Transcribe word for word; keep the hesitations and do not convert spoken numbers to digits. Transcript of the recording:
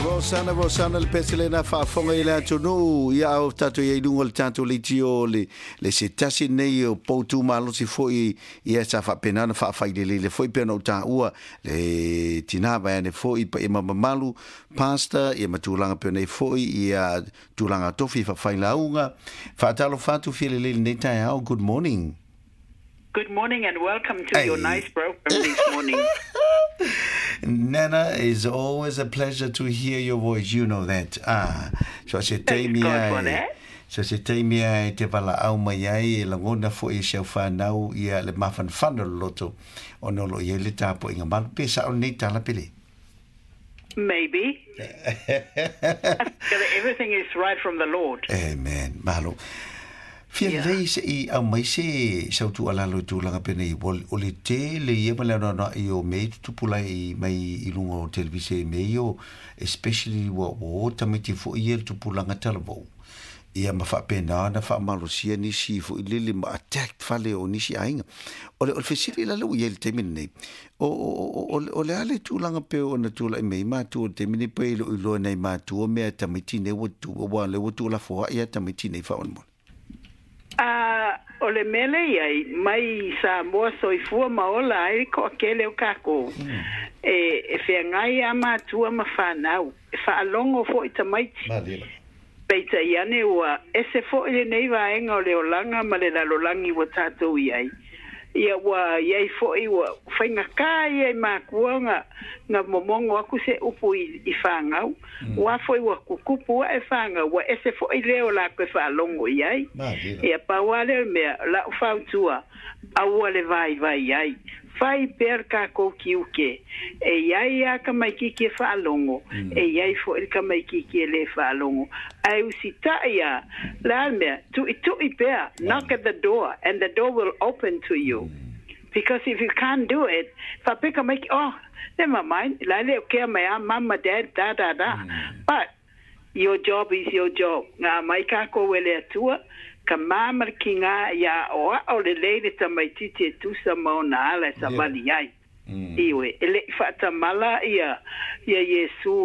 Rosana, Rosana le pese lena faafoga i le atunuu ia au tatou iai luga o le tatou leitio le, le se tasi nei o poutu malosi fo'i ia sa faapena ona faafailelele fo'i pe ona ou taua le tinā vaeane fo'i paia ma mamalu pastor ia ma tulaga pe nei fo'i ia tulaga tofi faafailauga faatalofa atu fialelei lenei taeao. Good morning. Good morning and welcome to your Hey. Nice program this morning. Nana, it's always a pleasure to hear your voice. You know that. Ah, so se Thanks taimi God for ai. That. So se taimi ai te valaau mai ai e lagona fo'i e si au fanau ia le mafanafana o le loto ona o lo o i ai le tapuaiga malu pe sa'o lenei tala pele. Maybe. Everything is right from the Lord. Amen. Malo. Fia Yeah. lelei se'i aumai se sautu'alalo i tulaga penei o le tele ia ma le anoanoa'i o mea i tutupula'i mai i luga o televise i mea ia o especially ua ua o tamaiti fo'i ia le tupulaga talavou ia ma faapena ona faamalosia nisi fo'i lele ma attack fale o nisi aiga. O le o le fesili la lea ua i ai le taimi lenei. O o o o le a le tulaga pe ona tula'i mai matua o le taimi nei pe e le'o iloa nai matua mea tamaiti nei ua tu ua le ua tuulafoa'i a tamaiti nei faamolemole. A o le mea lea i ai, mai Samoa soifua ma ola ai le toatele o tatou, e, e feagai lava matua ma fanau, e faalogo foi tamaiti. Peitai ane ua ese foi lenei vaega o le olaga ma le lalolagi ua tatou i ai. Ia ua i ai foi ua faigata ia i matua na, na momogo aku se upu i, i fanau. Ua foi ua kukupu ae fanau, ua ese foi leo lakou e faalogo i ai. Ia pau lava lea o le mea, la'u fautua, aua le vaivai ai. Fai pea le takou tiute. E i ai lava tamaititi e faalogo, e i ai foi le tamaititi e lē faalogo. Ae usita'i lava, le a le mea, tu'itu'i pea, knock at the door and the door will open to you. Because if you can't do it, faapea tamaiti, "Oh, never mind, la e le o kea mai a mama, dad, da da da." But your job is your job. Na aumai takou e le Atua, ka ma ma le kigā ia aoao lelei le tamaititi e tusa ma ona ala e savali ai. Ioe, e le'i faatamala ia ia Iesu.